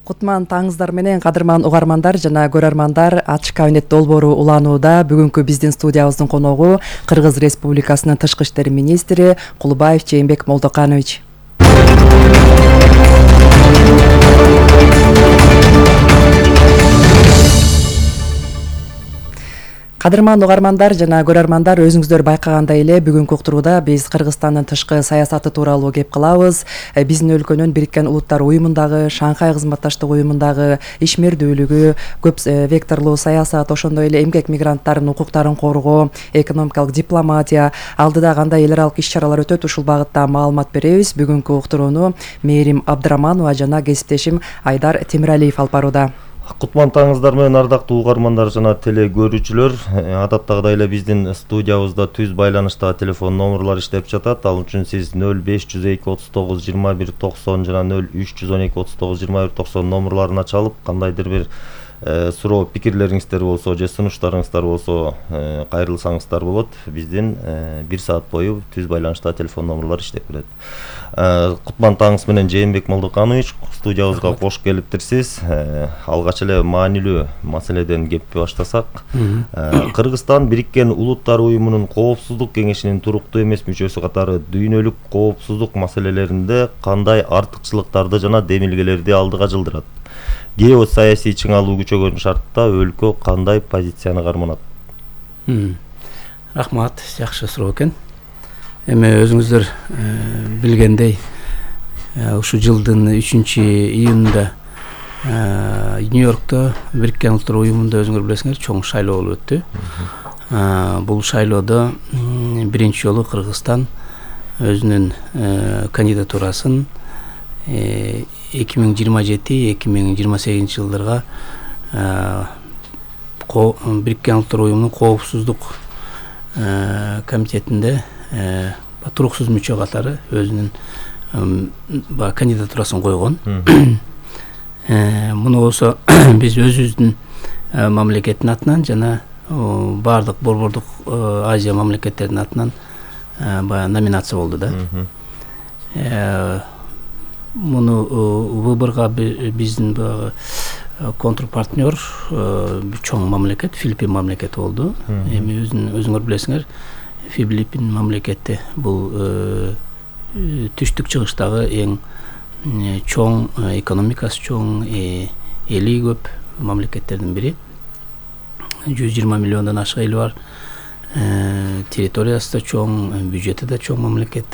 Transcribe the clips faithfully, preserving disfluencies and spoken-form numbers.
Кутман таңыздар менен кадырман угармандар жана көрөрмандар, ачык кабинет долбоору уланууда. Бүгүнкү биздин студиябыздын коногу Кыргыз Республикасынын тышкы иштер министри Кулубаев Жээнбек Молдоканович. Кадырман угармандар жана көрөрмандар, өзүңүздөр байкагандай эле бүгүнкү уктурууда биз Кыргызстандын тышкы саясаты тууралуу кеп кылабыз. Биздин өлкөнүн Бириккен Улуттар уюмундагы, Шанхай кызматташтык уюмундагы ишмердүүлүгү, көп векторлуу саясат, ошондой эле эмгек мигранттарынын укуктарын коргоо, экономикалык дипломатия, алдыда кандай эл аралык иш-чаралар өтөт, ушул багытта маалымат беребиз. Бүгүнкү уктурууну Мээрим Абдыраманова жана кесиптешим Айдар Темиралиев алып барууда. Кутман таңыздар менен ардактуу угармандар жана теле көрүүчүлөр, адаттагыдай эле биздин студиябызда түз байланыштагы телефон номерлор иштеп жатат. Ал үчүн сиз нөл беш жүз эки отуз тогуз жыйырма бир токсон жана нөл үч жүз он эки отуз тогуз жыйырма бир токсон номерлоруна чалып, кандайдыр бир суроо, пикирлериңиздер болсо же сунуштарыңыздар болсо кайрылсаңыздар болот. Биздин бир саат бою түз байланыштагы телефон номерлор иштеп келет. Кутман таңыз менен Жээнбек Молдоканович студиябызга кош келиптирсиз. Алгач эле маанилүү маселеден кепти баштасак, Кыргызстан Бириккен Улуттар уюмунун Коопсуздук кеңешинин туруктуу эмес мүчөсү катары дүйнөлүк коопсуздук маселелеринде кандай артыкчылыктарды жана демилгелерди алдыга жылдырат? Геосаясий чыңалуу күчөгөн шартта өлкө кандай позицияны карманат? Рахмат, жакшы суроо экен. Эми өзүңүздөр билгендей, ушул жылдын үчүнчү июнунда Нью-Йоркто Бириккен Улуттар уюмунда өзүңөр билесиңер чоң шайлоо болуп өттү. Бул шайлоодо биринчи жолу Кыргызстан өзүнүн кандидатурасын эки миң жыйырма жети эки миң жыйырма сегизинчи жылдарга Бириккен Улуттар уюмунун Коопсуздук комитетинде туруксуз мүчө катары өзүнүн кандидатурасын койгон. Муну болсо биз өзүбүздүн мамлекеттин атынан жана баардык борбордук Азия мамлекеттеринин атынан баягы номинация болду да. Муну выборго биздин баягы контрпартнер чоң мамлекет Филиппин мамлекети болду. Эми өзүңөр билесиңер, Филиппин мамлекети бул түштүк чыгыштагы эң чоң, экономикасы чоң, эли көп мамлекеттердин бири. жүз жыйырма миллиондон ашык эли бар. Территориясы да чоң, бюджети да чоң мамлекет.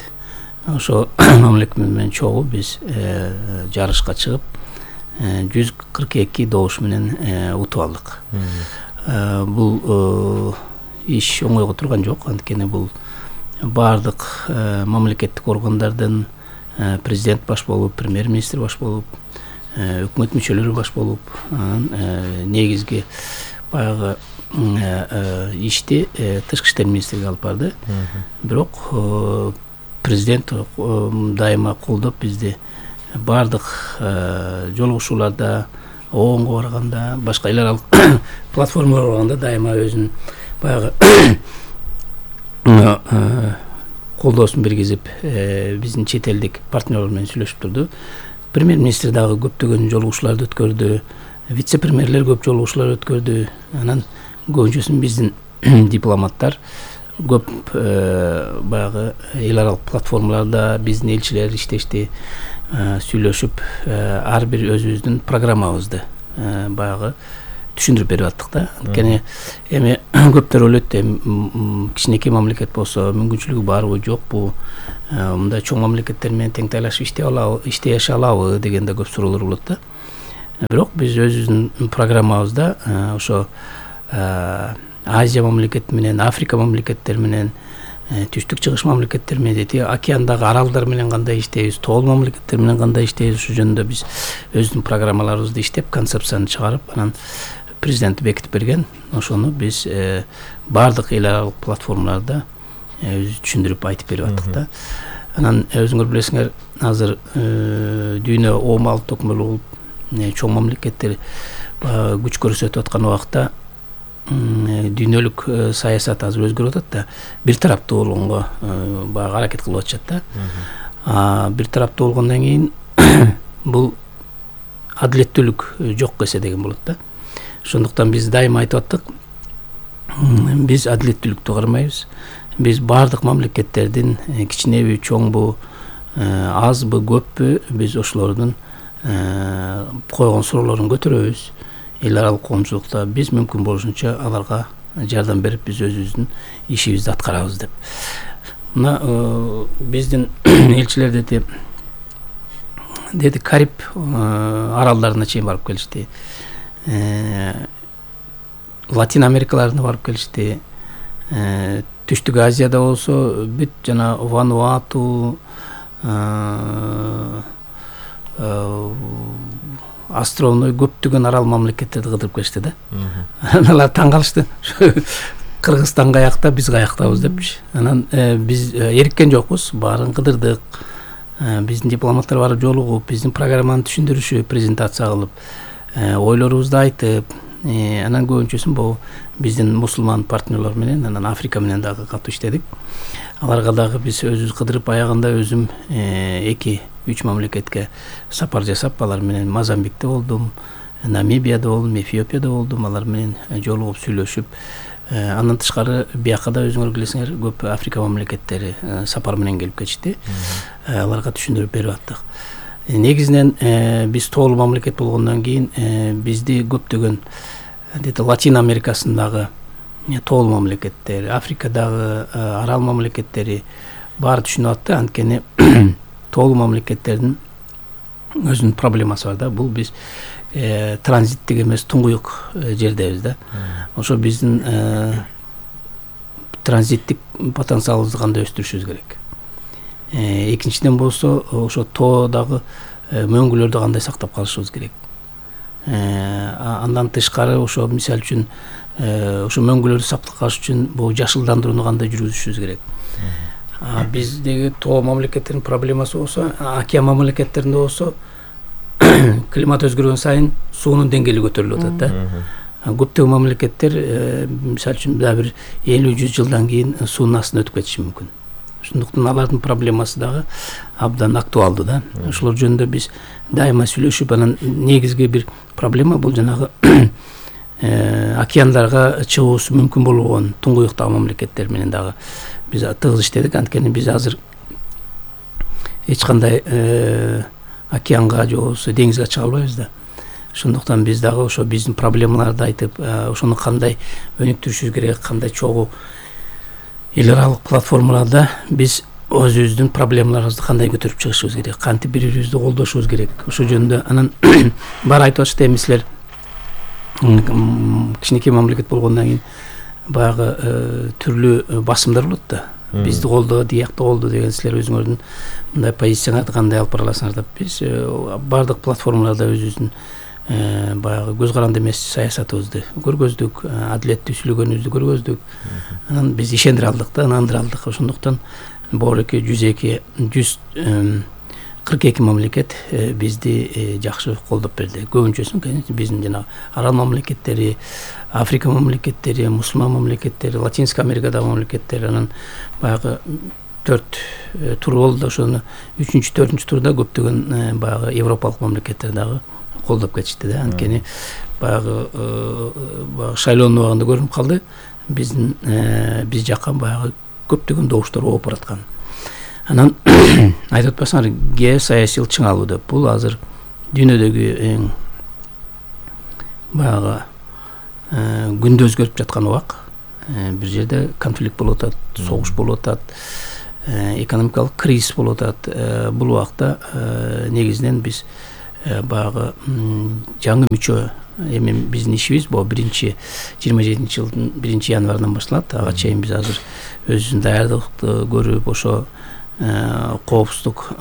Ошо мамлекет менен чогуу биз жарышка чыгып жүз кырк эки добуш менен утуп алдык. Бул иш оңойго турган жок, анткени бул баардык мамлекеттик органдардын президент баш болуп, премьер-министр баш болуп, өкмөт мүчөлөрү баш болуп, негизги баягы ишти тышкы иштер министрлиги алып барды. Бирок президент дайыма колдоп бизди баардык жолугушууларда, оонго барганда, башка эл аралык платформаларга барганда дайыма өзүнүн баягы колдоосун бергизип, биздин чет элдик партнерлор менен сүйлөшүп турду. Премьер-министр дагы көптөгөн жолугушууларды өткөрдү, вице-премьерлер көп жолугушуулар өткөрдү. Анан көбүнчөсүн биздин дипломаттар көп баягы эл аралык платформаларда биздин элчилер иштешти, сүйлөшүп, ар бир өзүбүздүн программабызды баягы түшүндүрүп берип аттык да. Анткени эми көптөр ойлойт, кичинекей мамлекет болсо мүмкүнчүлүгү барбы, жокпу, мындай чоң мамлекеттер менен тең тайлашып иштей алабы, иштей алабы деген да көп суроолор болот да. Бирок биз өзүбүздүн программабызда ошо Азия мамлекети менен, Африка мамлекеттери менен, түштүк чыгыш мамлекеттер менен, океандагы аралдар менен кандай иштейбиз, тоол мамлекеттер менен кандай иштейбиз, ушул жөнүндө биз өзүнүн программаларыбызды иштеп, концепцияны чыгарып, анан президент бекитип берген. Ошону биз баардык эл аралык платформаларда өзү түшүндүрүп айтып берип аттык да. Анан өзүңөр билесиңер, азыр дүйнө оомал токмол болуп, чоң мамлекеттер күч көрсөтүп аткан убакта дүйнөлүк саясат азыр өзгөрүп атат да, бир тараптуу болгонго баягы аракет кылып атышат да. Бир тараптуу болгондон кийин бул адилеттүүлүк жок эсе деген болот да. Ошондуктан биз дайыма айтып аттык, биз адилеттүүлүктү кармайбыз. Биз баардык мамлекеттердин кичинеби, чоңбу, азбы, көппү, биз ошолордун койгон суроолорун көтөрөбүз. Эл аралык коомчулукта биз мүмкүн болушунча аларга жардам берип, биз өзүбүздүн ишибизди аткарабыз деп. Мына биздин элчилер деди деди Кариб аралдарына чейин барып келишти. Латин Америкаларына барып келишти. Түштүк Азияда болсо бүт жана Вануату, островной көптөгөн арал мамлекеттерди кыдырып келишти да. Алар таң калышты. Кыргызстан каякта, биз каяктабыз депчи. Анан биз эриккен жокпуз, баарын кыдырдык. Биздин дипломаттар барып жолугуп, биздин программаны түшүндүрүшүп, презентация кылып, ойлорубузду айтып, анан көбүнчөсүн бул биздин мусулман партнерлор менен, анан Африка менен дагы катуу иштедик. Аларга дагы биз өзүбүз кыдырып, аягында өзүм эки үч мамлекетке сапар жасап, алар менен Мозамбикте болдум, Намибияда болдум, Эфиопияда болдум, алар менен жолугуп сүйлөшүп, андан тышкары бияка да өзүңөр билесиңер, көп Африка мамлекеттери сапар менен келип кетишти. Аларга түшүндүрүп берип аттык. Негизинен биз тоолуу мамлекет болгондон кийин бизди көптөгөн Латин Америкасындагы тоолуу мамлекеттер, Африкадагы арал мамлекеттери баары түшүнүп атты. Анткени тоолуу мамлекеттердин өзүнүн проблемасы бар да. Бул биз транзиттик эмес, туңгуюк жердебиз да. Ошо биздин транзиттик потенциалыбызды кандай өстүрүшүбүз керек. Экинчиден болсо, ошо тоодагы мөңгүлөрдү кандай сактап калышыбыз керек. Андан тышкары ошо мисалы үчүн ошо мөңгүлөрдү сактап калыш үчүн бул жашылдандырууну кандай жүргүзүшүбүз керек. Биздеги тоо мамлекеттердин проблемасы болсо, океан мамлекеттеринде болсо, климат өзгөргөн сайын суунун деңгээли көтөрүлүп атат да. Көптөгөн мамлекеттер мисалы үчүн дагы бир элүү жүз жылдан кийин суунун астына өтүп кетиши мүмкүн. Ошондуктан алардын проблемасы дагы абдан актуалдуу да. Ошолор жөнүндө биз дайыма сүйлөшүп, анан негизги бир проблема бул жанагы океандарга чыгуусу мүмкүн болгон туңгуюктагы мамлекеттер менен дагы биз тыгыз иштедик. Анткени биз азыр эч кандай океанга же болбосо деңизге чыга албайбыз да. Ошондуктан биз дагы ошо биздин проблемаларды айтып, ошону кандай өнүктүрүшүбүз керек, кандай чогуу эл аралык платформаларда биз өзүбүздүн проблемаларыбызды кандай көтөрүп чыгышыбыз керек, кантип бири-бирибизди колдошубуз керек. Ошо жөнүндө анан баары айтып атышты, эми силер кичинекей мамлекет болгондон кийин баягы түрлүү басымдар болот да. Бизди колдо, диякты колдо деген силер өзүңөрдүн мындай позицияңарды кандай алып бара аласыңар деп биз баардык платформаларда өзүбүздүн баягы көз каранды эмес саясатыбызды көргөздүк, адилеттүү сүйлөгөнүбүздү көргөздүк. Анан биз ишендире алдык да, ынандыра алдык. Ошондуктан боореки жүз эки жүз кырк эки мамлекет бизди жакшы колдоп берди. Көбүнчөсүн биздин жана арал мамлекеттери, Африка мамлекеттери, мусулман мамлекеттери, Латинска Америкадагы мамлекеттер, анан баягы төрт тур болду. Ошону үчүнчү, төртүнчү турда көптөгөн баягы европалык мамлекеттер дагы колдоп кетишти да. Анткени баягы шайлоонун убагында көрүнүп калды, биздин биз жакка баягы көптөгөн добуштар ооп бараткан. Анан айтып атпасаңар, геосаясий чыңалуу деп, бул азыр дүйнөдөгү эң баягы күндө өзгөрүп жаткан убак. Бир жерде конфликт болуп атат, согуш болуп атат, экономикалык кризис болуп атат. Бул убакта негизинен биз баягы жаңы мүчө, эми биздин ишибиз бул биринчи жыйырма жетинчи жылдын биринчи январынан башталат. Ага чейин биз азыр өзүбүздүн даярдыкты көрүп, ошо коопсуздук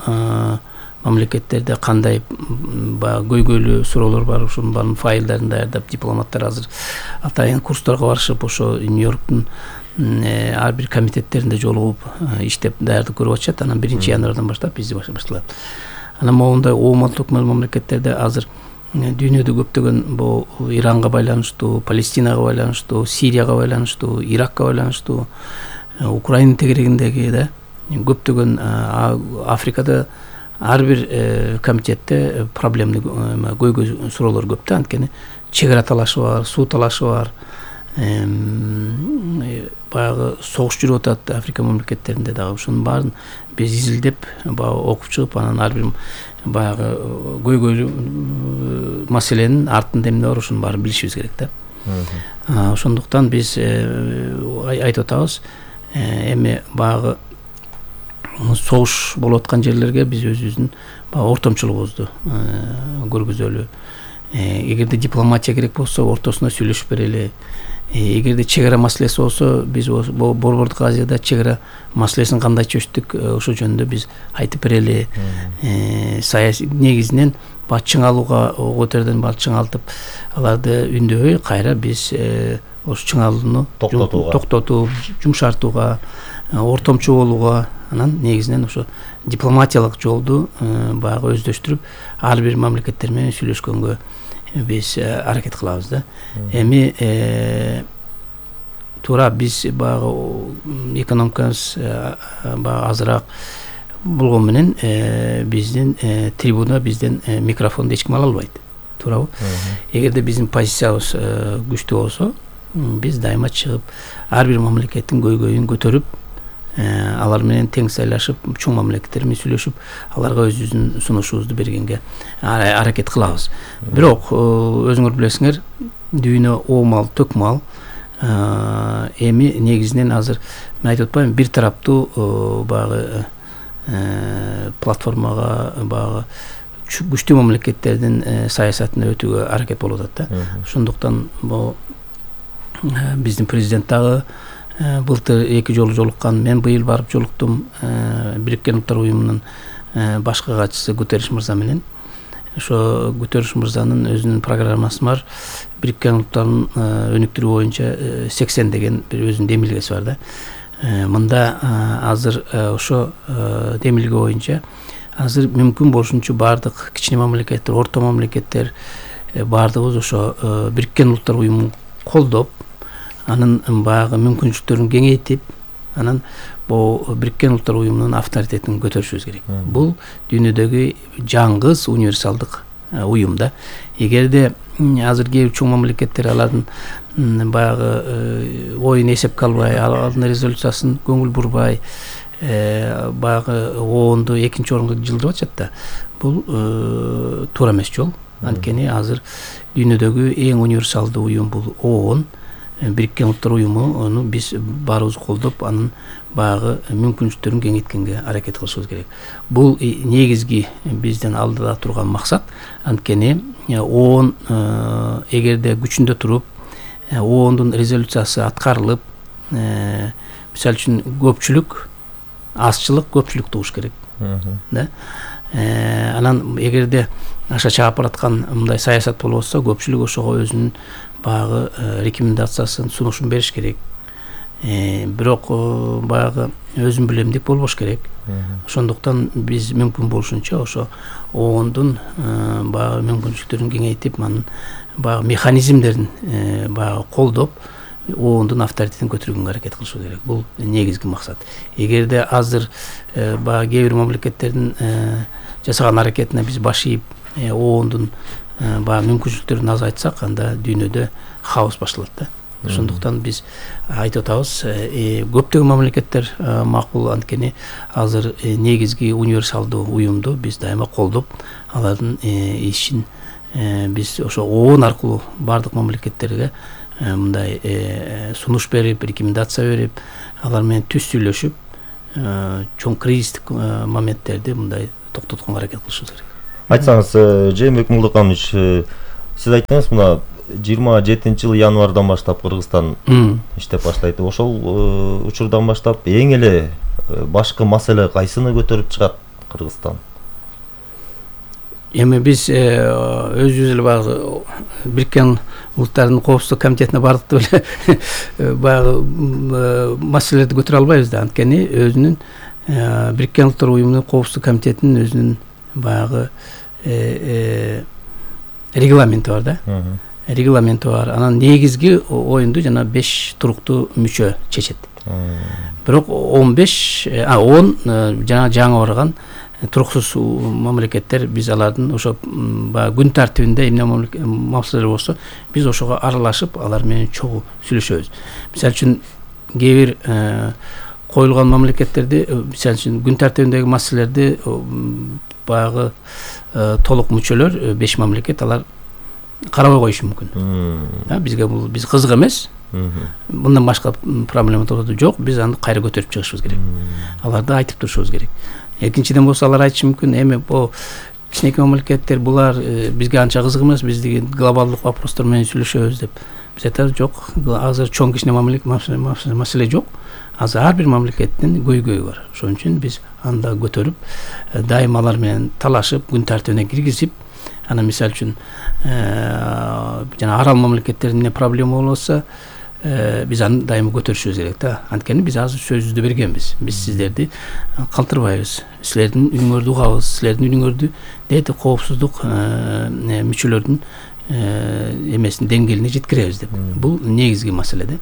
мамлекеттерде кандай баягы көйгөйлүү суроолор бар, ошонун баарын файлдарын даярдап, дипломаттар азыр атайын курстарга барышып, ошо Нью-Йорктун ар бир комитеттеринде жолугуп иштеп даярдык көрүп атышат. Анан биринчи январдан баштап бизде башталат. Анан моундай оомалдык мамлекеттерде азыр дүйнөдө көптөгөн бул Иранга байланыштуу, Палестинага байланыштуу, Сирияга байланыштуу, Иракка байланыштуу, Украина тегерегиндеги да көптөгөн Африкада ар бир комитетте проблемный көйгөй суроолор көп да, анткени чек ара талашы бар, суу талашы бар, баягы согуш жүрүп атат Африка мамлекеттеринде дагы. Ошонун баарын биз изилдеп, баягы окуп чыгып, анан ар бир баягы көйгөйлүү маселенин артында эмне бар, ошонун баарын билишибиз керек да. Ошондуктан биз айтып атабыз, эми баягы согуш болуп аткан жерлерге биз өзүбүздүн баягы ортомчулугубузду көргүзөлү. Эгерде дипломатия керек болсо, ортосуна сүйлөшүп берели. Эгерде чек ара маселеси болсо, биз Борбордук Азияда чек ара маселесин кандай чечтик, ошо жөнүндө биз айтып берели. Саясий негизинен баа чыңалууга көтөрдөн баа чыңалтып, аларды үндөбөй кайра биз ошо чыңалууну токтотууга, жумшартууга, ортомчу болууга, анан негизинен ошо дипломатиялык жолду баягы өздөштүрүп, ар бир мамлекеттер менен сүйлөшкөнгө биз аракет кылабыз да. Эми туура биз баягы экономикабыз баягы азыраак болгон менен биздин трибуна, бизден микрофонду эч ким ала албайт. Туурабы? Эгерде биздин позициябыз күчтүү болсо, биз дайыма чыгып, ар бир мамлекеттин көйгөйүн көтөрүп, алар менен тең сайлашып, чоң мамлекеттер менен сүйлөшүп, аларга өзүбүздүн сунушубузду бергенге аракет кылабыз. Бирок өзүңөр билесиңер, дүйнө оомал, төкмал. Эми негизинен азыр мен айтып атпайм, бир тараптуу баягы платформага, баягы күчтүү мамлекеттердин саясатына өтүүгө аракет болуп атат да. Ошондуктан бул биздин президент дагы былтыр эки жолу жолуккан, мен быйыл барып жолуктум Бириккен Улуттар Уюмунун башкы катчысы Гутерриш мырза менен. Ошо Гутерриш мырзанын өзүнүн программасы бар. Бириккен Улуттардын өнүктүрүү боюнча сексен деген бир өзүнүн демилгеси бар да. Мында азыр ошо демилге боюнча азыр мүмкүн болушунча бардык кичине мамлекеттер, орто мамлекеттер бардыгыбыз ошо Бириккен Улуттар Уюмун колдоп, анын баягы мүмкүнчүлүктөрүн кеңейтип, анан бул Бириккен Улуттар Уюмунун авторитетин көтөрүшүбүз керек. Бул дүйнөдөгү жаңгыз универсалдык уюм да. Эгерде азыр кээ бир чоң мамлекеттер алардын баягы оюн эсепке албай, алардын резолюциясын көңүл бурбай, баягы ООНду экинчи орунга жылдырып атышат да. Бул туура эмес жол. Анткени азыр дүйнөдөгү эң универсалдуу уюм бул ООН. Бириккен Улуттар Уюмуну биз баарыбыз колдоп, анын баягы мүмкүнчүлүктөрүн кеңейткенге аракет кылышыбыз керек. Бул негизги биздин алдыда турган максат. Анткени ООН эгерде күчүндө туруп, ООНдун резолюциясы аткарылып, мисалы үчүн көпчүлүк, азчылык көпчүлүк тугуш керек. Да? Анан эгерде аша чаап бараткан мындай саясат болуп атса, көпчүлүк ошого өзүнүн баягы рекомендациясын, сунушун бериш керек. Бирок баягы өзүн билем деп болбош керек. Ошондуктан биз мүмкүн болушунча ошо ООНдун баягы мүмкүнчүлүктөрүн кеңейтип, анын баягы механизмдерин баягы колдоп, ООНдун авторитетин көтөргөнгө аракет кылышыбыз керек. Бул негизги максат. Эгерде азыр баягы кээ бир мамлекеттердин жасаган аракетине биз баш ийип, ООНдун баягы мүмкүнчүлүктөрүн азайтсак, анда дүйнөдө хаос башталат да. Ошондуктан биз айтып атабыз, көптөгөн мамлекеттер макул, анткени азыр негизги универсалдуу уюмду биз дайыма колдоп, алардын ишин биз ошо ООН аркылуу бардык мамлекеттерге мындай сунуш берип, рекомендация берип, алар менен түз сүйлөшүп, чоң кризистик моменттерди мындай токтотконго аракет кылышыбыз керек. Айтсаңыз, Жээнбек Мулдыканович, сиз айттыңыз, мына жыйырма жетинчи жылы январдан баштап Кыргызстан иштеп баштайт. Ошол учурдан баштап эң эле башкы маселе кайсыны көтөрүп чыгат Кыргызстан? Эми биз өзүбүз эле баягы Бириккен Улуттардын коопсуздук комитетине бардык деп эле баягы маселелерди көтөрө албайбыз да. Анткени өзүнүн Бириккен Улуттар Уюмунун коопсуздук комитетинин өзүнүн баягы регламенти бар да. Регламенти бар. Анан негизги оюнду жана беш туруктуу мүчө чечет. Бирок он беш, а он жана жаңы барган туруксуз мамлекеттер биз алардын ошо баягы күн тартибинде эмне маселелер болсо биз ошого аралашып алар менен чогуу сүйлөшөбүз. Мисалы үчүн кээ бир коюлган мамлекеттерди мисалы үчүн күн тартибиндеги маселелерди баягы толук мүчөлөр беш мамлекет алар карабай коюшу мүмкүн. Бизге бул биз кызык эмес. Мындан башка проблема жок, биз аны кайра көтөрүп чыгышыбыз керек. Аларды айтып турушубуз керек. Экинчиден болсо алар айтышы мүмкүн, эми бул кичинекей мамлекеттер булар бизге анча кызык эмес, биз деген глобалдык вопростор менен сүйлөшөбүз деп. Биз айтабыз жок, азыр чоң кичине маселе жок. Азыр ар бир мамлекеттин көйгөйү бар. Ошон үчүн биз анда көтөрүп, дайыма алар менен талашып, күн тартибине киргизип, ана мисалы үчүн жана арал мамлекеттеринде проблема болсо, биз аны дайыма көтөрүшүбүз керек да. Анткени биз азыр сөзүбүздү бергенбиз. Биз сиздерди калтырбайбыз. Силердин үйүңөрдү угабыз, силердин үйүңөрдү дети коопсуздук мүчөлөрдүн эмесин деңгээлине жеткиребиз деп. Бул негизги маселе да.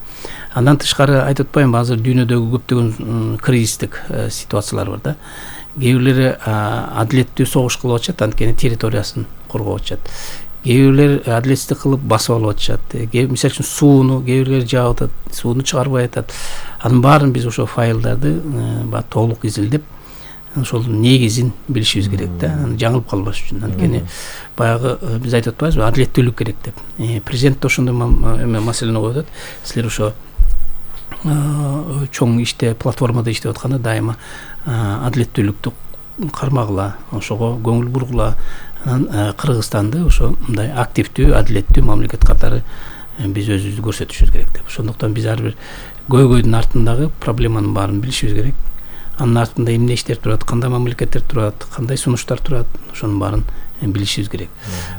Андан тышкары айтып атпаймынбы, азыр дүйнөдөгү көптөгөн кризистик ситуациялар бар да. Кээ бирлери адилеттүү согуш кылып атышат, анткени территориясын коргоп атышат. Кээ бирлер адилетсиздик кылып басып алып атышат. Мисалы үчүн сууну кээ бирлер жаап атат, сууну чыгарбай атат. Анын баарын биз ошо файлдарды баягы толук изилдеп, ошол негизин билишибиз керек да, жаңылып калбаш үчүн. Анткени баягы биз айтып атпайбызбы, адилеттүүлүк керек деп. Президент да ошондой маселени коюп атат. Силер ошо чоң иште, платформада иштеп атканда дайыма адилеттүүлүктү кармагыла, ошого көңүл бургула. Анан Кыргызстанды ошо мындай активдүү, адилеттүү мамлекет катары биз өзүбүздү көрсөтүшүбүз керек деп. Ошондуктан биз ар бир көйгөйдүн артындагы проблеманын баарын билишибиз керек. Анын артында эмне иштер турат, кандай мамлекеттер турат, кандай сунуштар турат, ошонун баарын билишибиз керек.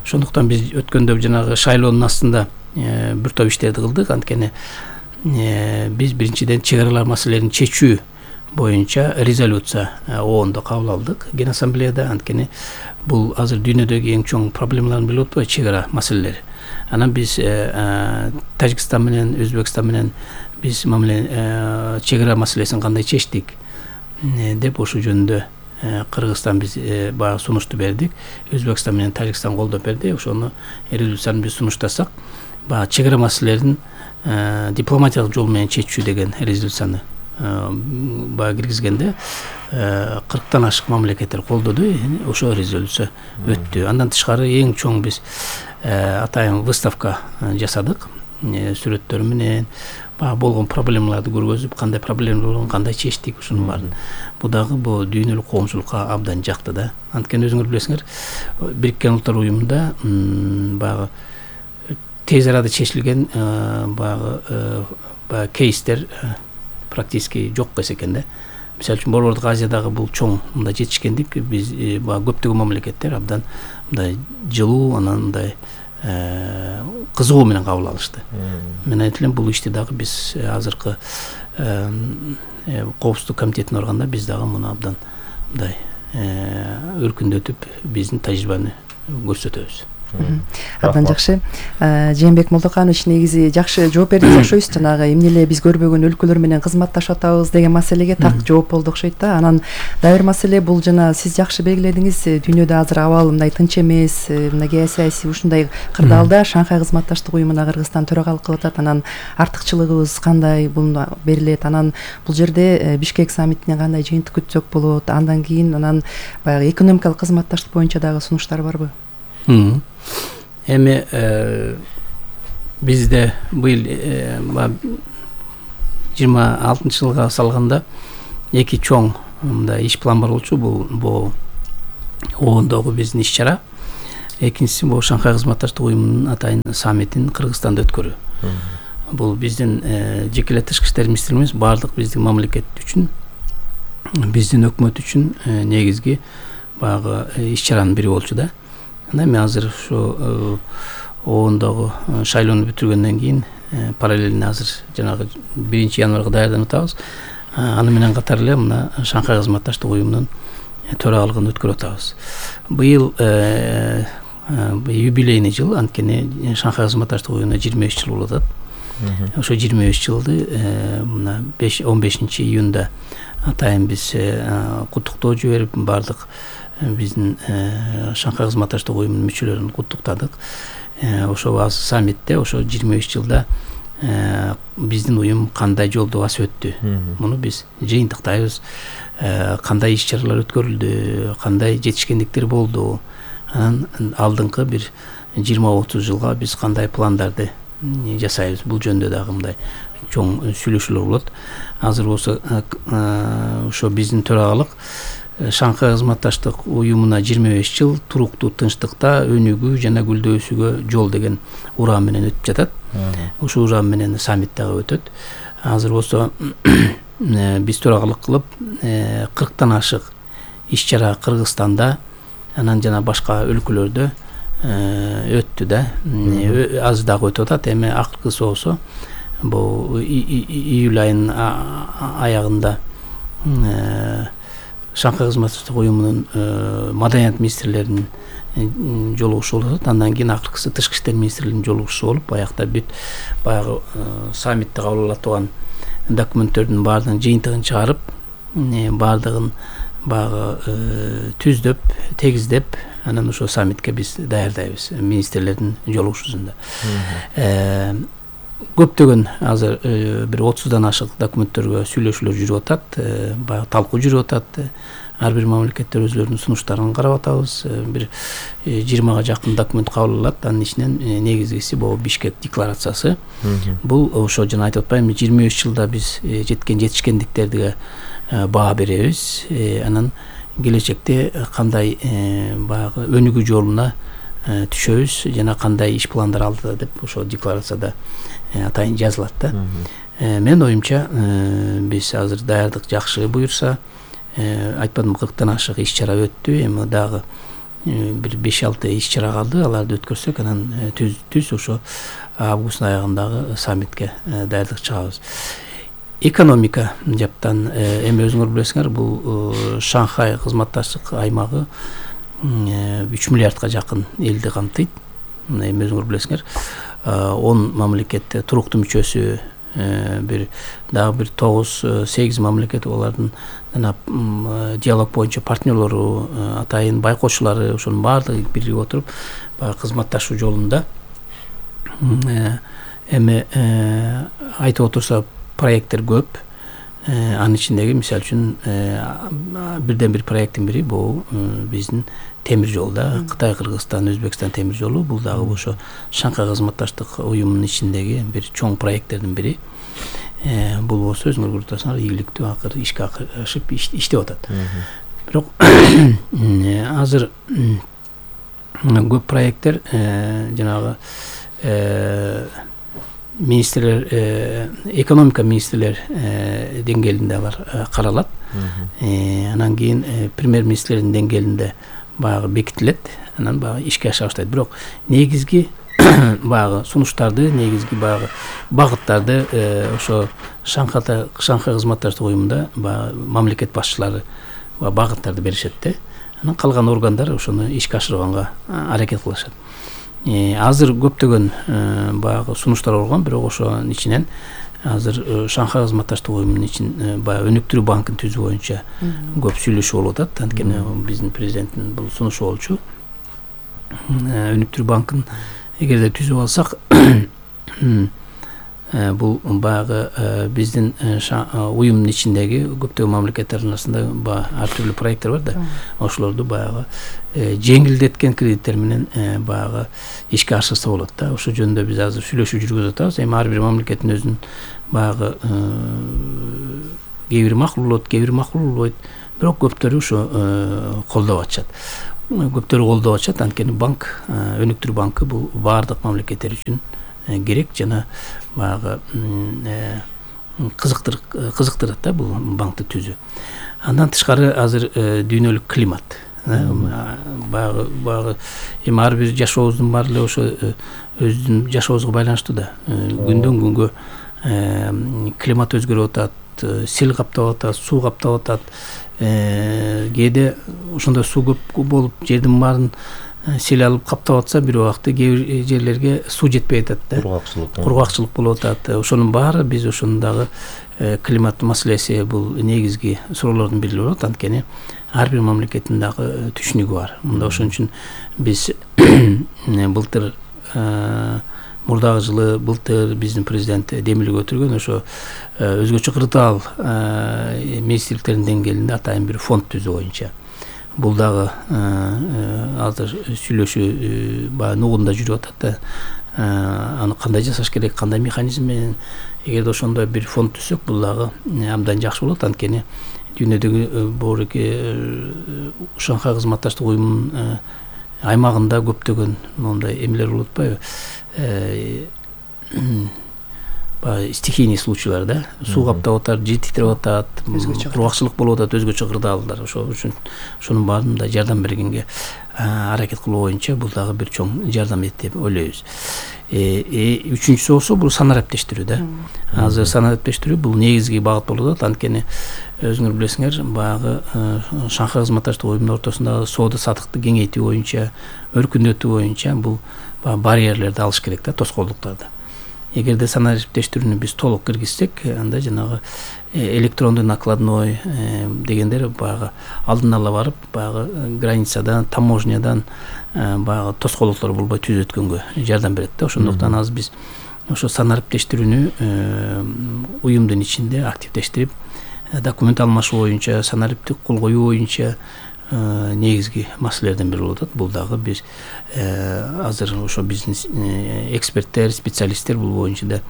Ошондуктан биз өткөндө жанагы шайлоонун астында бир топ иштерди кылдык. Анткени биз биринчиден чек аралар маселелерин чечүү боюнча резолюция оондо кабыл алдык, Ген ассамблеяда. Анткени бул азыр дүйнөдөгү эң чоң проблемаларын билип атпайбы, чек ара маселелери. Анан биз Тажикстан менен, Өзбекстан менен биз мамиле чек ара маселесин кандай чечтик деп ошол жөнүндө Кыргызстан биз баягы сунушту бердик. Өзбекстан менен Тажикстан колдоп берди. Ошону резолюцияны биз сунуштасак, баягы чек ара маселелерин дипломатиялык жол менен чечүү деген резолюцияны баягы киргизгенде кырктан ашык мамлекеттер колдоду. Ошо резолюция өттү. Андан тышкары эң чоң биз атайын выставка жасадык. Сүрөттөр менен баягы болгон проблемаларды көргөзүп, кандай проблема болгон, кандай чечтик, ушунун баарын. Бул дагы бул дүйнөлүк коомчулукка абдан жакты да. Анткени өзүңөр билесиңер, Бириккен Улуттар уюмунда баягы тез арада чечилген баягы баягы кейстер практически жок экен да. Мисалы үчүн Борбордук Азиядагы бул чоң мындай жетишкендик биз баягы көптөгөн мамлекеттер абдан мындай жылуу, анан мындай кызыгуу менен кабыл алышты. Мен айтып элем, бул ишти дагы биз азыркы коопсуздук комитетине барганда биз дагы муну абдан мындай өркүндөтүп биздин тажрыйбаны көрсөтөбүз. Абдан жакшы. Жээнбек Молдоканович негизи жакшы жооп бердиңиз, окшойсуз. Жанагы эмне эле биз көрбөгөн өлкөлөр менен кызматташып атабыз деген маселеге так жооп болду окшойт да. Анан дагы бир маселе бул жана сиз жакшы белгиледиңиз, дүйнөдө азыр абал мындай тынч эмес, мына геосаясий ушундай кырдаалда Шанхай кызматташтык уюмуна Кыргызстан төрагалык кылып атат. Анан артыкчылыгыбыз кандай буну берилет? Анан бул жерде Бишкек саммитинен кандай жыйынтык күтсөк болот? Андан кийин анан баягы экономикалык кызматташтык боюнча дагы сунуштар барбы? Эми бизде быйыл жыйырма алтынчы жылга салганда эки чоң мындай иш план бар болчу. Бул бул оондогу биздин иш чара. Экинчиси бул Шанхай кызматташтык уюмунун атайын саммитин Кыргызстанда өткөрүү. Бул биздин жеке эле тышкы иштер министрлигибиз баардык биздин мамлекет үчүн, биздин өкмөт үчүн негизги баягы иш чаранын бири болчу да. Мен азыр ошо оондогу шайлоону бүтүргөндөн кийин параллельно азыр жанагы биринчи январга даярданып атабыз. Аны менен катар эле мына Шанхай кызматташтык уюмунун төрагалыгын өткөрүп атабыз. Быйыл юбилейный жыл, анткени Шанхай кызматташтык уюмуна жыйырма беш жыл болуп атат. Ошо жыйырма беш жылды мына он бешинчи июнда атайын биз куттуктоо жиберип баардык биздин Шанхай кызматташтык уюмунун мүчөлөрүн куттуктадык. Ошо аз саммитте ошо жыйырма беш жылда биздин уюм кандай жолду басып өттү, муну биз жыйынтыктайбыз. Кандай иш-чаралар өткөрүлдү, кандай жетишкендиктер болду, анан алдыңкы бир жыйырма отуз жылга биз кандай пландарды жасайбыз. Бул жөнүндө дагы мындай чоң сүйлөшүүлөр болот. Азыр болсо ошо биздин төрагалык Шанхай кызматташтык уюмуна жыйырма беш жыл туруктуу тынчтыкта өнүгүү жана гүлдөөсүгө жол деген уран менен өтүп жатат. Ошол уран менен саммит дагы өтөт. Азыр болсо биз төрагалык кылып кырктан ашык иш-чара Кыргызстанда анан жана башка өлкөлөрдө өттү да. Аз дагы өтүп атат. Эми акыркысы болсо бул июль айынын аягында Шанхай кызматташтык уюмунун маданият министрлеринин жолугушуу болот. Андан кийин акыркысы тышкы иштер министрлеринин жолугушуу болуп, аякта бүт баягы саммитте кабыл алына турган документтөрдүн баардыгын жыйынтыгын чыгарып, баардыгын баягы түздөп, тегиздеп, анан ошо саммитке биз даярдайбыз министрлердин жолугушуусунда. Көптөгөн азыр бир отуздан ашык документтөргө сүйлөшүүлөр жүрүп атат, баягы талкуу жүрүп атат. Ар бир мамлекеттер өзлөрүнүн сунуштарын карап атабыз. Бир жыйырмага жакын документ кабыл алынат. Анын ичинен негизгиси бул Бишкек декларациясы. Бул ошо жана айтып атпаймынбы, жыйырма беш жылда биз жеткен жетишкендиктерге баа беребиз. Анан келечекте кандай баягы өнүгүү жолуна түшөбүз жана кандай иш пландар алдыда деп ошо декларацияда атайын жазылат да. Мен оюмча биз азыр даярдык жакшы буюрса, айтпадым, кырктан ашык иш-чара өттү. Эми дагы бир беш алты иш-чара калды. Аларды өткөрсөк, анан түз түз ошо августтун аягындагы саммитке даярдык чыгабыз. Экономика жаптан эми өзүңөр билесиңер, бул Шанхай кызматташтык аймагы үч миллиардка жакын элди камтыйт. Эми өзүңөр билесиңер, он мамлекет туруктуу мүчөсү, бир дагы бир тогуз сегиз мамлекет олардын жана диалог боюнча партнерлору, атайын байкоочулары, ошонун баардыгы биригип отуруп баягы кызматташуу жолунда. Эми айтып отурса проекттер көп. Анын ичиндеги мисалы үчүн бирден бир проекттин бири бул биздин темир жол да, Кытай, Кыргызстан, Өзбекстан темир жолу. Бул дагы ошо Шанхай кызматташтык уюмунун ичиндеги бир чоң проекттердин бири. Бул болсо өзүңөр көрүп турасыңар, ийгиликтүү акыр ишке ашып иштеп атат. Бирок азыр көп проекттер жанагы министрлер, экономика министрлер деңгээлинде алар каралат. Анан кийин премьер-министрлердин деңгээлинде баягы бекитилет, анан баягы ишке аша баштайт. Бирок негизги баягы сунуштарды, негизги баягы багыттарды ошо Шанхай Шанхай кызматташтык уюмунда баягы мамлекет башчылары багыттарды беришет да. Анан калган органдар ошону ишке ашырганга аракет кылышат. Азыр көптөгөн баягы сунуштар болгон, бирок ошонун ичинен азыр Шанхай кызматташтык уюмунун ичин баягы өнүктүрүү банкын түзүү боюнча көп сүйлөшүү болуп атат. Анткени биздин президенттин бул сунушу болчу. Өнүктүрүү банкын эгерде түзүп алсак, бул баягы биздин уюмдун ичиндеги көптөгөн мамлекеттердин арасында ар түрдүү проекттер бар да. Ошолорду баягы жеңилдеткен кредиттер менен баягы ишке ашырса болот да. Ошол жөнүндө биз азыр сүйлөшүү жүргүзүп атабыз. Эми ар бир мамлекеттин өзүнүн баягы кээ бири макул болот, кээ бири макул болбойт. Бирок көптөрү ошо колдоп атышат. Көптөрү колдоп атышат. Анткени банк, өнүктүрүү банкы бул баардык мамлекеттер үчүн керек жана баягы кызыктыр кызыктырат да бул банкты түзүү. Андан тышкары азыр дүйнөлүк климат, баягы баягы эми ар бир жашообуздун баары эле ошо өзүнүн жашообузга байланыштуу да. Күндөн күнгө климат өзгөрүп атат, сел каптап атат, суу каптап атат. Кээде ошондой суу көп болуп жердин баарын сел алып каптап атса, бир убакта кээ бир жерлерге суу жетпей атат да. Кургакчылык. Кургакчылык болуп атат. Ошонун баары биз ошондагы климат маселеси бул негизги суроолордун бири болот. Анткени ар бир мамлекеттин дагы түшүнүгү бар. Мында ошон үчүн биз былтыр мурдагы жылы былтыр биздин президент демилге өтүргөн ошо өзгөчө кырдаал министрликтердин деңгээлинде атайын бир фонд түзүү боюнча. Бул дагы азыр сүйлөшүү баягы нугунда жүрүп атат да. Аны кандай жасаш керек, кандай механизм менен, эгерде ошондой бир фонд түзсөк, бул дагы абдан жакшы болот. Анткени дүйнөдөгү бооруки Шанхай кызматташтык уюмунун аймагында көптөгөн мондай эмелер болуп атпайбы? Баягы стихийный случайлар да. Суу каптап атат, жер титиреп атат, кургакчылык болуп атат, өзгөчө кырдаалдар. Ошол үчүн ошонун баарында жардам бергенге аракет кылуу боюнча бул дагы бир чоң жардам этет деп ойлойбуз. Үчүнчүсү болсо бул санариптештирүү да. Азыр санариптештирүү бул негизги багыт болуп атат. Анткени өзүңөр билесиңер, баягы Шанхай кызматташтык уюмунун ортосундагы соода саттыкты кеңейтүү боюнча, өркүндөтүү боюнча бул барьерлерди алыш керек да, тоскоолдуктарды. Эгерде санариптештирүүнү биз толук киргизсек, анда жанагы электрондуу накладной дегендер баягы алдын ала барып, баягы границадан, таможнядан баягы тоскоолдуктар болбой түз өткөнгө жардам берет да. Ошондуктан азыр биз ошо санариптештирүүнү уюмдун ичинде активдештирип, документ алмашуу боюнча, санариптик кол коюу боюнча негизги маселелерден бири болуп атат. Бул дагы биз азыр ошо биздин эксперттер, специалисттер бул боюнча да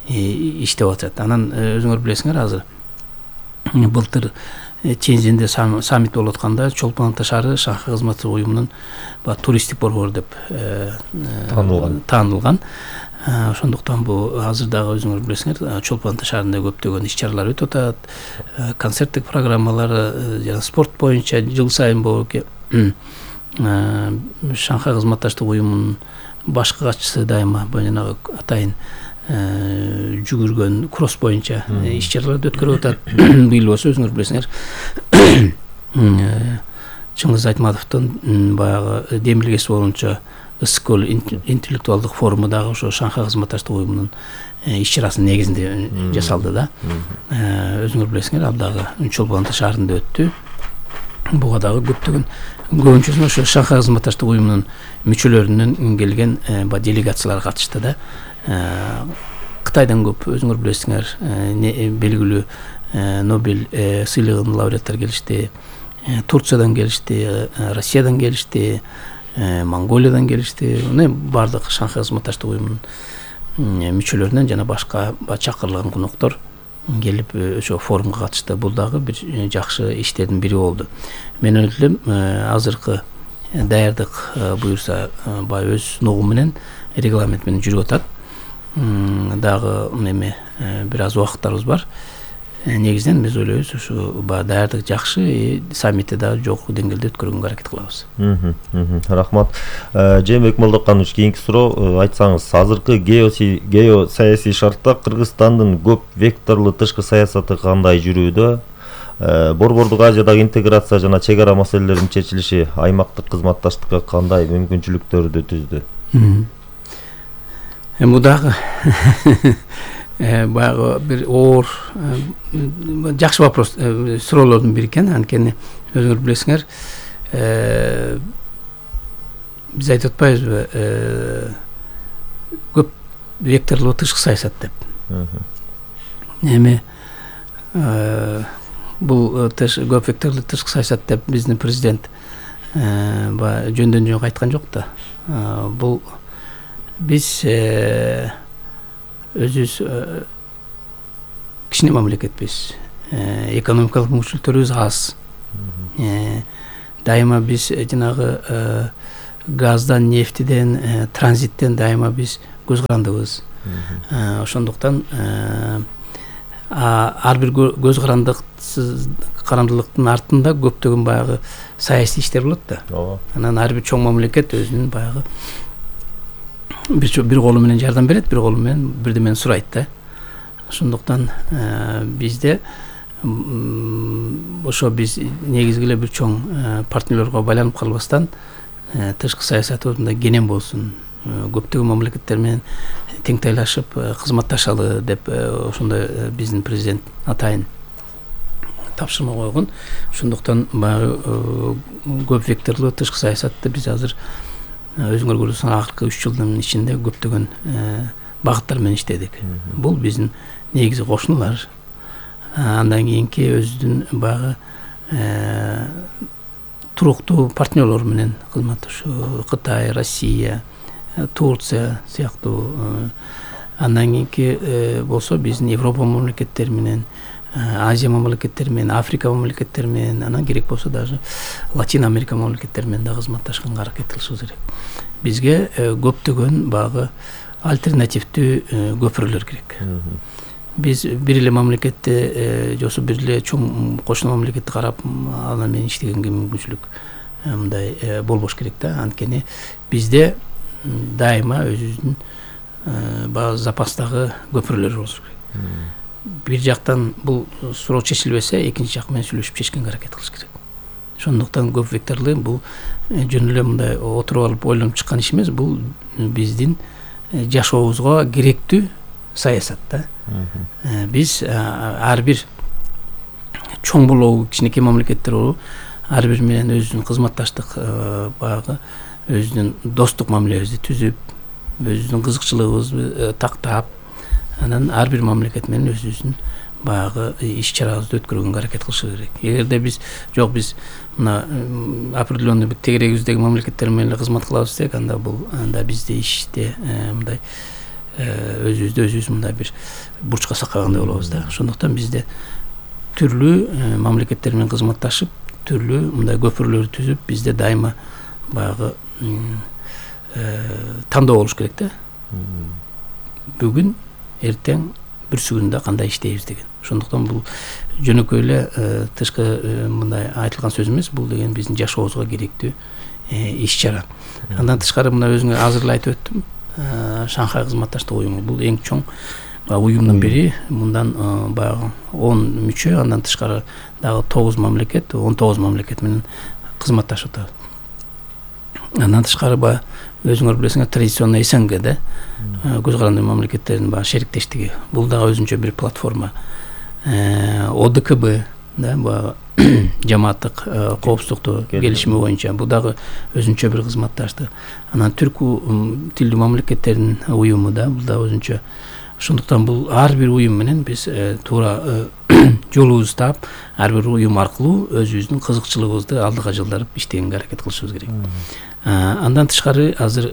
иштеп атат. Анан өзүңөр билесиңер, азыр былтыр Чензенде саммит болуп атканда Чолпон Ата шаары Шанхай кызматташтык уюмунун туристтик борбор деп таанылган. Ошондуктан бул азыр дагы өзүңөр билесиңер, Чолпон Ата шаарында көптөгөн иш-чаралар өтүп атат. Концерттик программалар, жана спорт боюнча жыл сайын бооруки Шанхай кызматташтык уюмунун башкы катчысы дайыма жанагы атайын жүгүргөн кросс боюнча иш-чараларды өткөрүп атат. Быйыл болсо өзүңөр билесиңер, Чыңгыз Айтматовдун баягы демилгеси боюнча Ыскөл интеллектуалдык форуму дагы ошо Шанхай кызматташтык уюмунун иш-чарасынын негизинде жасалды да. Өзүңөр билесиңер, ал дагы Чолпон Ата шаарында өттү. Буга дагы көптөгөн көбүнчөсүн ошо Шанхай кызматташтык уюмунун мүчөлөрүнөн келген делегациялар катышты да. Кытайдан көп, өзүңөр билесиңер, белгилүү Нобель сыйлыгынын лауреаттары келишти, Турциядан келишти, Россиядан келишти, Монголиядан келишти. Бардык Шанхай кызматташтык уюмунун мүчөлөрүнөн жана башка чакырылган коноктор келип ошо форумга катышты. Бул дагы бир жакшы иштердин бири болду. Мен ойлойм, азыркы даярдык буюрса баягы өз нугу менен, регламент менен жүрүп атат. Дагы эме бир аз убакыттарыбыз бар. Негизинен биз ойлойбуз, ушу баягы даярдык жакшы, саммитти дагы жогорку деңгээлде өткөргөнгө аракет кылабыз. Рахмат. Жээнбек Молдоканович, кийинки суроо, айтсаңыз, азыркы геосаясий шартта Кыргызстандын көп векторлуу тышкы саясаты кандай жүрүүдө? Борбордук Азиядагы интеграция жана чек ара маселелеринин чечилиши аймактык кызматташтыкка кандай мүмкүнчүлүктөрдү түздү? Бул дагы баягы бир оор жакшы вопрос, суроолордун бири экен. Анткени өзүңөр билесиңер, биз айтып атпайбызбы, көп векторлуу тышкы саясат деп. Эми бул көп векторлуу тышкы саясат деп биздин президент баягы жөндөн жөн айткан жок да. Бул биз өзүбүз кичине мамлекетпиз, экономикалык мүмкүнчүлүктөрүбүз аз. Дайыма биз жанагы газдан, нефтиден, транзиттен дайыма биз көз карандыбыз. Ошондуктан ар бир көз карандылыктын артында көптөгөн баягы саясий иштер болот да. Анан ар бир чоң мамлекет өзүнүн баягы бир колу менен жардам берет, бир колу менен бирдемени сурайт да. Ошондуктан бизде ошо биз негизги эле бир чоң партнерлорго байланып калбастан тышкы саясатыбызда кенен болсун, көптөгөн мамлекеттер менен теңтайлашып кызматташалы деп ошондой биздин президент атайын тапшырма койгон. Ошондуктан баягы көп векторлуу тышкы саясатты биз азыр өзүңөр көрөсүңөр акыркы үч жылдын ичинде көптөгөн багыттар менен иштедик. Бул биздин негизи кошуналар. Андан кийинки өзүнүн баягы туруктуу партнерлор менен кызматташуу, Кытай, Россия, Турция сыяктуу. Андан кийинки болсо биздин Европа мамлекеттери менен, Азия мамлекеттери менен, Африка мамлекеттери менен, анан керек болсо даже Латин Америка мамлекеттери менен да кызматташканга аракет кылышыбыз керек. Бизге көптөгөн баягы альтернативдүү көпүрөлөр керек. Биз бир эле мамлекетти же бир эле чоң кошуна мамлекетти карап аны менен иштегенге мүмкүнчүлүк мындай болбош керек да. Анткени бизде дайыма өзүбүздүн баягы запастагы көпүрөлөр болушу керек. Бир жактан бул суроо чечилбесе, экинчи жак менен сүйлөшүп чечкенге аракет кылыш керек. Ошондуктан көп векторлуу бул жөн эле мындай отуруп алып ойлонуп чыккан иш эмес, бул биздин жашообузга керектүү саясат да. Биз ар бир чоң болобу, кичинекей мамлекеттер болобу, ар бир менен өзүнүн кызматташтык баягы өзүнүн достук мамилебизди түзүп, өзүнүн кызыкчылыгыбызды тактап, анан ар бир мамлекет менен өзүбүздүн баягы иш чарабызды өткөргөнгө аракет кылышыбыз керек. Эгерде биз жок биз мына определенный бир тегерегибиздеги мамлекеттер менен кызмат кылабыз десек, анда бул анда бизде иште мындай өзүбүздү өзүбүз мындай бир бурчка сакагандай болобуз да. Ошондуктан бизде түрлүү мамлекеттер менен кызматташып, түрлүү мындай көпүрлөрдү түзүп, бизде дайыма баягы тандоо болуш керек да. Бүгүн, эртең, бүрсүгүндө кандай иштейбиз деген. Ошондуктан бул жөнөкөй эле тышкы мындай айтылган сөз эмес, бул деген биздин жашообузга керектүү иш чара. Андан тышкары мына өзүңөр азыр эле айтып өттүм, Шанхай кызматташтык уюму бул эң чоң уюмдун бири. Мындан баягы он мүчө, андан тышкары дагы тогуз мамлекет, он тогуз мамлекет менен кызматташып атабыз. Андан тышкары баягы өзүңөр билесиңер, традиционный СНГ көз каранды мамлекеттердин баягы шериктештиги. Бул дагы өзүнчө бир платформа. ОДКБ да, баягы жамааттык коопсуздукту келишими боюнча бул дагы өзүнчө бир кызматташтык. Анан түркү тилдүү мамлекеттердин уюму да, бул дагы өзүнчө. Ошондуктан бул ар бир уюм менен биз туура жолубузду таап, ар бир уюм аркылуу өзүбүздүн кызыкчылыгыбызды алдыга жылдырып иштегенге аракет кылышыбыз керек. Андан тышкары азыр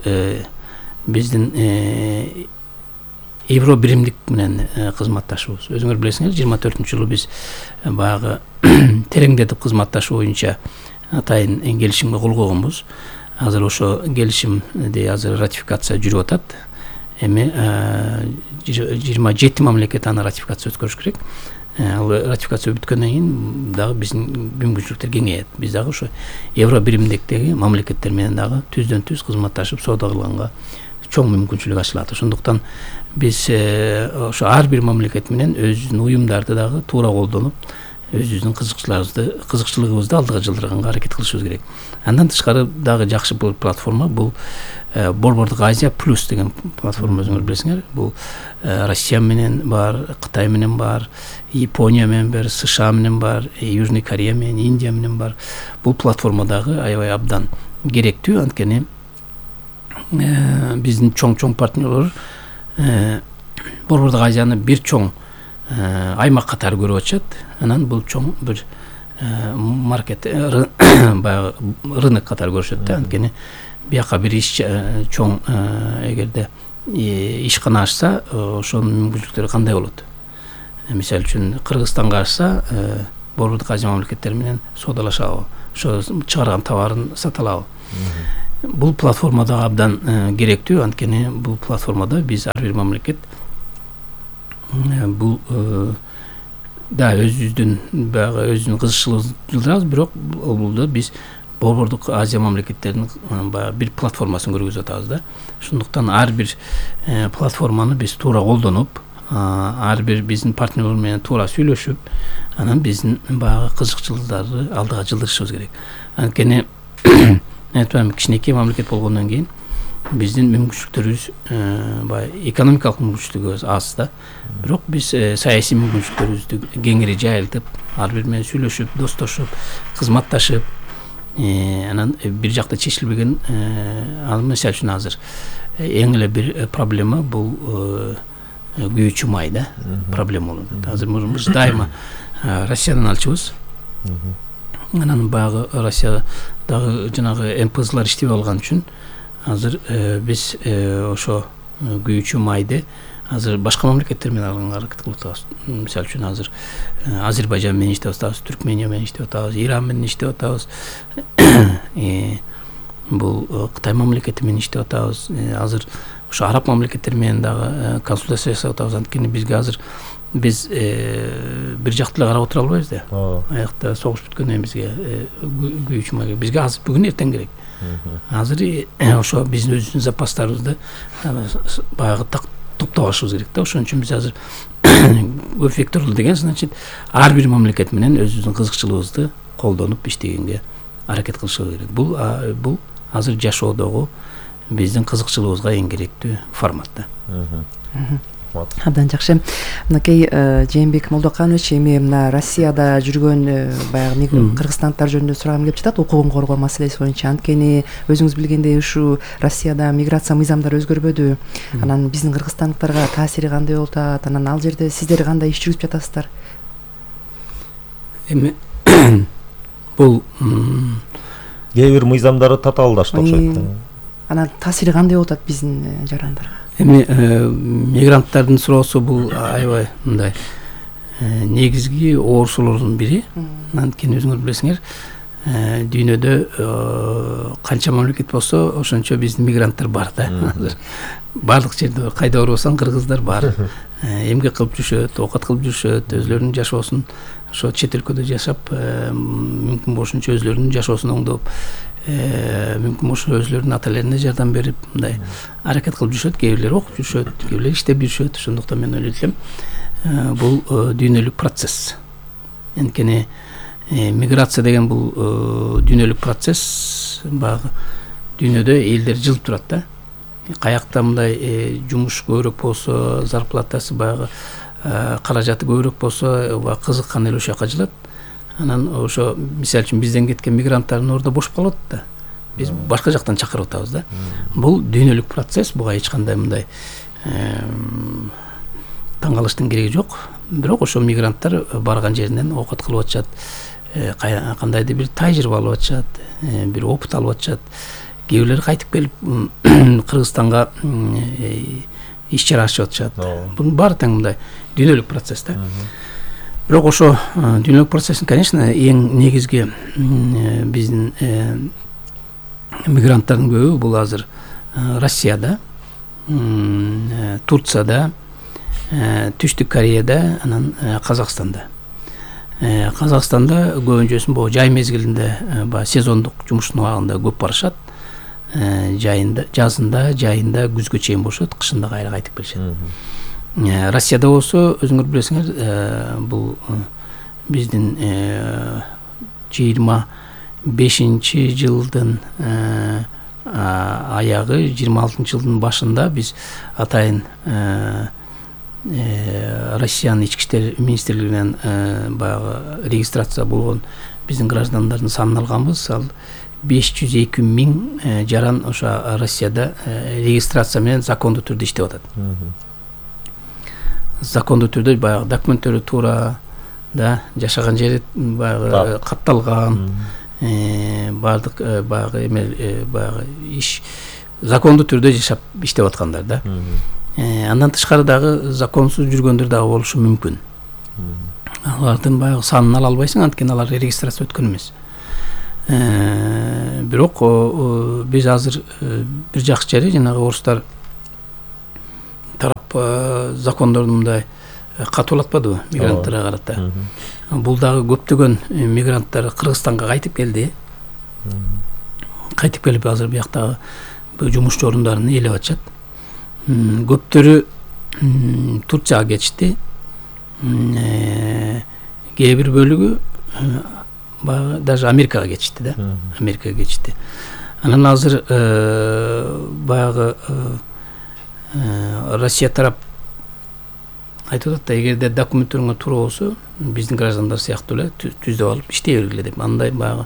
биздин Евро биримдик менен кызматташабыз. Өзүңөр билесиңер, жыйырма төртүнчү жылы биз баягы тереңдетип кызматташуу боюнча атайын келишимге кол койгонбуз. Азыр ошо келишимди азыр ратификация жүрүп атат. Эми жыйырма жети мамлекет аны ратификация өткөрүш керек. Ал ратификация бүткөндөн кийин дагы биздин мүмкүнчүлүктөр кеңейет. Биз дагы ошо Евро биримдиктеги мамлекеттер менен дагы түздөн түз кызматташып соода кылганга чоң мүмкүнчүлүк ачылат. Ошондуктан биз ошо ар бир мамлекет менен өзүнүн уюмдарды дагы туура колдонуп, өзүбүздүн кызыкчылыгыбызды кызыкчылыгыбызды алдыга жылдырганга аракет кылышыбыз керек. Андан тышкары дагы жакшы бул платформа, бул Борбордук Азия плюс деген платформа, өзүңөр билесиңер. Бул Россия менен бар, Кытай менен бар, Япония менен бар, США менен бар, Южный Корея менен, Индия менен бар. Бул платформа дагы аябай абдан керектүү, анткени биздин чоң-чоң партнерлор Борбордук Азияны бир чоң аймак катары көрүп атышат. Анан бул чоң бир маркет баягы рынок катары көрүшөт да. Анткени бияка бир иш чоң эгерде ишкана ачса, ошонун мүмкүнчүлүктөрү кандай болот? Мисалы үчүн Кыргызстанга ачса, Борбордук Азия мамлекеттери менен соодалашабы, ошо чыгарган товарын сата алабы? Бул платформада абдан керектүү, анткени бул платформада биз ар бир мамлекет бул да өзүбүздүн баягы өзүнүн кызыкчылыгын жылдырабыз, бирок бул биз Борбордук Азия мамлекеттеринин баягы бир платформасын көргөзүп атабыз да. Ошондуктан ар бир платформаны биз туура колдонуп, ар бир биздин партнерлор менен туура сүйлөшүп, анан биздин баягы кызыкчылыктарды алдыга жылдырышыбыз керек. Анткени айтпайм, кичинекей мамлекет болгондон кийин биздин мүмкүнчүлүктөрүбүз баягы экономикалык мүмкүнчүлүгүбүз аз да. Бирок биз саясий мүмкүнчүлүктөрүбүздү кеңири жайылтып, ар бир менен сүйлөшүп, достошуп, кызматташып, анан бир жакта чечилбеген, ал мисалы үчүн азыр эң эле бир проблема бул күйүүчү май да, проблема болот. Азыр биз дайыма Россиядан алчубыз. Анан баягы Россиядагы жанагы эм пэ злар иштебей калган үчүн азыр биз ошо күйүүчү майды азыр башка мамлекеттер менен алганга аракет кылып атабыз. Мисалы үчүн азыр Азербайжан менен иштеп атабыз, Түркмения менен иштеп атабыз, Иран менен иштеп атабыз. Бул Кытай мамлекети менен иштеп атабыз. Азыр ошо араб мамлекеттери менен дагы консультация жасап атабыз. Анткени бизге азыр биз бир жактуу эле карап отура албайбыз да. Аякта согуш бүткөндөн бизге күйүүчү май бизге азыр бүгүн эртең керек. Азыр ошо биздин өзүбүздүн запастарыбызды баягы топтоп алышыбыз керек да. Ошон үчүн биз азыр көпвекторлуу деген, значит, ар бир мамлекет менен өзүбүздүн кызыкчылыгыбызды колдонуп иштегенге аракет кылышыбыз керек. Бул бул азыр жашоодогу биздин кызыкчылыгыбызга эң керектүү формат да. Абдан жакшы. Мынакей Жээнбек Молдоканович, эми мына Россияда жүргөн баягы кыргызстандыктар жөнүндө сурагым келип жатат, укугун коргоо маселеси боюнча. Анткени өзүңүз билгендей ушу Россияда миграция мыйзамдары өзгөрбөдү. Анан биздин кыргызстандыктарга таасири кандай болуп атат? Анан ал жерде сиздер кандай иш жүргүзүп жатасыздар? Эми бул кээ бир мыйзамдары татаалдашты окшойт. Анан таасири кандай болуп атат биздин жарандарга? Эми мигранттардын суроосу бул аябай мындай негизги оорусуулордун бири. Анткени өзүңөр билесиңер, дүйнөдө канча мамлекет болсо ошончо биздин мигранттар бар да. Баардык жерде кайда барбасаң кыргыздар бар. Эмгек кылып жүрүшөт, оокат кылып жүрүшөт, өзлөрүнүн жашоосун ошо чет өлкөдө жашап, мүмкүн болушунча өзлөрүнүн жашоосун оңдоп, мүмкүн болсо өзлөрүнүн ата элерине жардам берип, мындай аракет кылып жүрүшөт. Кээ бирлери окуп жүрүшөт, кээ бирлери иштеп жүрүшөт. Ошондуктан мен ойлойт элем, бул дүйнөлүк процесс. Анткени миграция деген бул дүйнөлүк процесс. Баягы дүйнөдө элдер жылып турат да. Каякта мындай жумуш көбүрөөк болсо, зарплатасы баягы каражаты көбүрөөк болсо, баягы кызыккан эле ошол жака жылат. Анан ошо мисалы үчүн бизден кеткен мигранттардын ордо бошоп калып атат да. Биз башка жактан чакырып атабыз да. Бул дүйнөлүк процесс, буга эч кандай мындай таң калыштын кереги жок. Бирок ошо мигранттар барган жеринен оокат кылып атышат, кандайдыр бир тажрыйба алып атышат, бир опыт алып атышат. Кээ бирлери кайтып келип Кыргызстанга иш чара ачып атышат. Бунун баары тең мындай дүйнөлүк процесс да. Бирок ошо дүйнөлүк процесстин, конечно, эң негизги биздин мигранттардын көбү бул азыр Россияда, Турцияда, Түштүк Кореяда, анан Казакстанда. Казакстанда көбүнчөсүн бул жай мезгилинде, баягы сезондук жумуштун убагында көп барышат. Жайында, жазында, жайында күзгө чейин болушат, кышында кайра кайтып келишет. Россияда болсо өзүңөр билесиңер, бул биздин жыйырма бешинчи жылдын аягы, жыйырма алтынчы жылдын башында биз атайын Россиянын ички иштер министрлигинен баягы регистрация болгон биздин граждандардын санын алганбыз. Ал беш жүз эки миң жаран ошо Россияда регистрация менен закондуу түрдө иштеп атат. Закондуу түрдө баягы документтери туура, да, жашаган жери баягы катталган, баардык баягы эме баягы иш закондуу түрдө жашап иштеп аткандар да. Андан тышкары дагы законсуз жүргөндөр дагы болушу мүмкүн. Алардын баягы санын ала албайсың, анткени алар регистрация өткөн эмес. Бирок биз азыр бир жакшы жери, жанагы орустар тарап закондорду мындай катуулатпадыбы мигранттарга карата. Бул дагы көптөгөн мигранттар Кыргызстанга кайтып келди. Кайтып келип азыр бияктагы жумушчу орундарын ээлеп атышат. Көптөрү Турцияга кетишти. Кээ бир бөлүгү даже Америкага кетишти да. Америкага кетишти. Анан азыр баягы Россия тарап айтып атат да, эгерде документтериңер туура болсо, биздин граждандар сыяктуу эле түздөп алып иштей бергиле деп. Андай баягы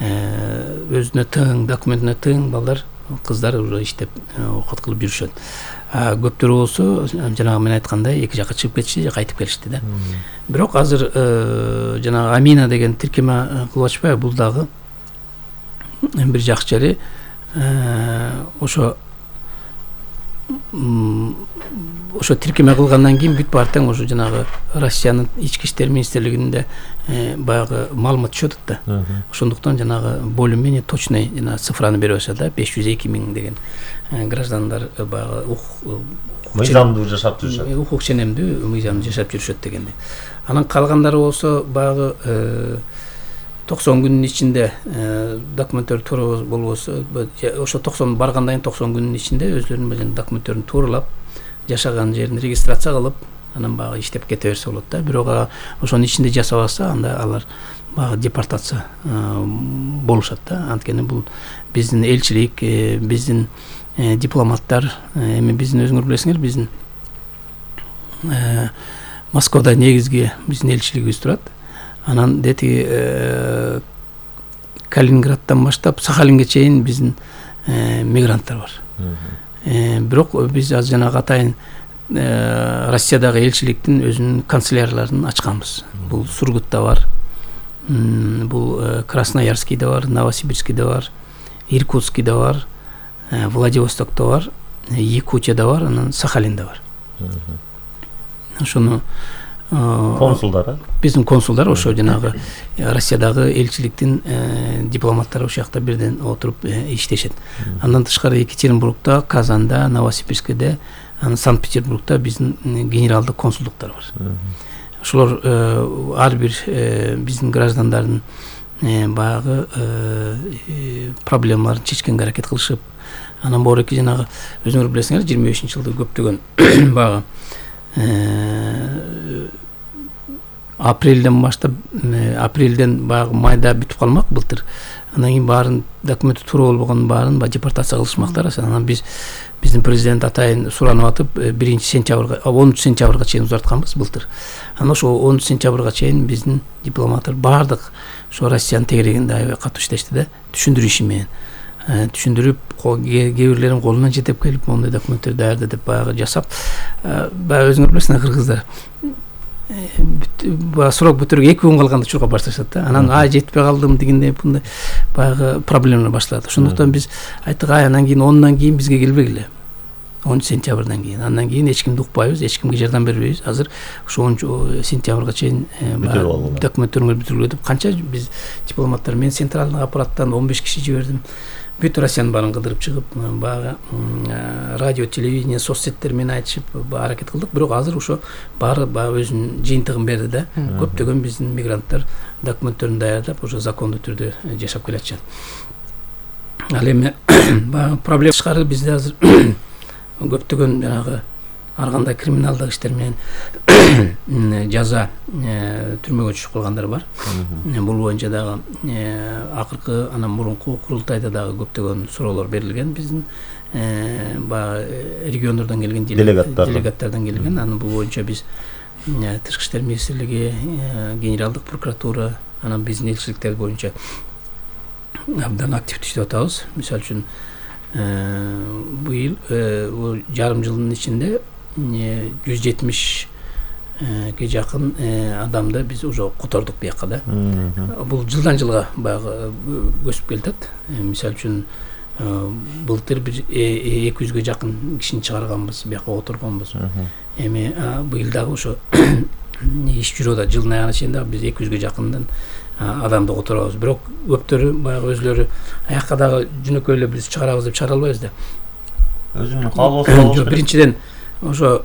өзүнө тең, документине тең балдар, кыздар уже иштеп окат кылып жүрүшөт. Көптөрү болсо, жанагы мен айткандай, эки жакка чыгып кетишти же кайтып келишти да. Бирок азыр жанагы Амина деген тиркеме кылып атышпайбы? Бул дагы бир жакшы жери. Ошо ошо тиркеме кылгандан кийин бүт баартаң ошо жанагы Россиянын ички иштер министрлигинде баягы маалымат түшөт да. Ошондуктан жанагы более менее точный жана цифраны берип атышат да, беш жүз эки миң деген граждандар баягы мыйзамдуу жашап жүрүшөт. Укук ченемдүү мыйзамдуу жашап жүрүшөт дегенди. Анан калгандары болсо баягы токсон күнүнүн ичинде документтер туура болбосо, ошо токсон баргандан кийин токсон күнүнүн ичинде өзлөрүнүн документтерин тууралап, жашаган жерин регистрация кылып, анан баягы иштеп кете берсе болот да. Бирок ошонун ичинде жасабаса, анда алар баягы депортация болушат да. Анткени бул биздин элчилик, биздин дипломаттар, эми биздин өзүңөр билесиңер, биздин Москвада негизги биздин элчилигибиз турат. Анан дети Калининградтан баштап Сахалинге чейин биздин мигранттар бар. Бирок биз азыр жанагы атайын Россиядагы элчиликтин өзүнүн канцелярияларын ачканбыз. Бул Сургутта бар, бул Красноярскийде бар, Новосибирскийде бар, Иркутскийде бар, Владивостокто бар, Якутияда бар, анан Сахалинде бар. Ошону консулдар, биздин консулдар ошо жанагы Россиядагы элчиликтин дипломаттары ошол жакта бирден отуруп иштешет. Андан тышкары Екатеринбургда, Казанда, Новосибирскийде, анан Санкт-Петербургда биздин генералдык консулдуктар бар. Ошолор ар бир биздин граждандардын баягы проблемаларын чечкенге аракет кылышып, анан бооруки жанагы өзүңөр билесиңер, жыйырма бешинчи жылда көптөгөн баягы апрелден баштап, апрелден баягы майда бүтүп калмак былтыр. Андан кийин баарын документи туура болбогон баарын депортация кылышмактар. Анан биз биздин президент атайын суранып атып, биринчи сентябрга, онунчу сентябрга чейин узартканбыз былтыр. Анан ошо онунчу сентябрга чейин биздин дипломаттар баардык ошо Россиянын тегерегинде аябай катуу иштешти да, түшүндүрүү иши менен. Түшүндүрүп, кээ бирлерин колунан жетип келип, моундай документтер даярда деп баягы жасап, баягы өзүңөр билесиңер, кыргыздар срок бүтүрүгө эки күн калганда чуркап башташат да. Анан ай жетпей калдым дегенде мындай баягы проблемалар башталат. Ошондуктан биз айттык, ай анан кийин онунан кийин бизге келбегиле. онунчу сентябрдан кийин. Андан кийин эч кимди укпайбыз, эч кимге жардам бербейбиз. Азыр ошо онунчу сентябрга чейин документтериңерди бүтүргүлө деп канча биз дипломаттар, мен центральный аппараттан он беш киши жибердим. Бүт Россиянын баарын кыдырып чыгып, баягы радио, телевидение, соцсеттер менен айтышып аракет кылдык. Бирок азыр ошо баары баягы өзүнүн жыйынтыгын берди да. Көптөгөн биздин мигранттар документтерин даярдап, ошо закондуу түрдө жашап келатышат. Ал эми баягы проблема тышкары бизде азыр көптөгөн жанагы ар кандай криминалдык иштер менен жаза түрмөгө түшүп калгандар бар. Бул боюнча дагы акыркы анан мурунку курултайда дагы көптөгөн суроолор берилген биздин баягы региондордон келген делегаттардан келген. Анан бул боюнча биз тышкы иштер министрлиги, генералдык прокуратура, анан биздин элчиликтер боюнча абдан активдүү иштеп атабыз. Мисалы үчүн быйыл жарым жылдын ичинде жүз жетимишке жакын адамды биз уже котордук бияка да. Бул жылдан жылга баягы өсүп келатат. Мисалы үчүн былтыр бир эки жүзгө жакын кишини чыгарганбыз, бияка отурганбыз. Эми быйыл дагы ошо иш жүрүп атат. Жылдын аягына чейин дагы биз эки жүзгө жакындан адамды которобуз. Бирок көптөрү баягы өзлөрү аякка дагы жөнөкөй эле биз чыгарабыз деп чыгара албайбыз да. Өзүнүн каалоосу болуш керек. Биринчиден ошо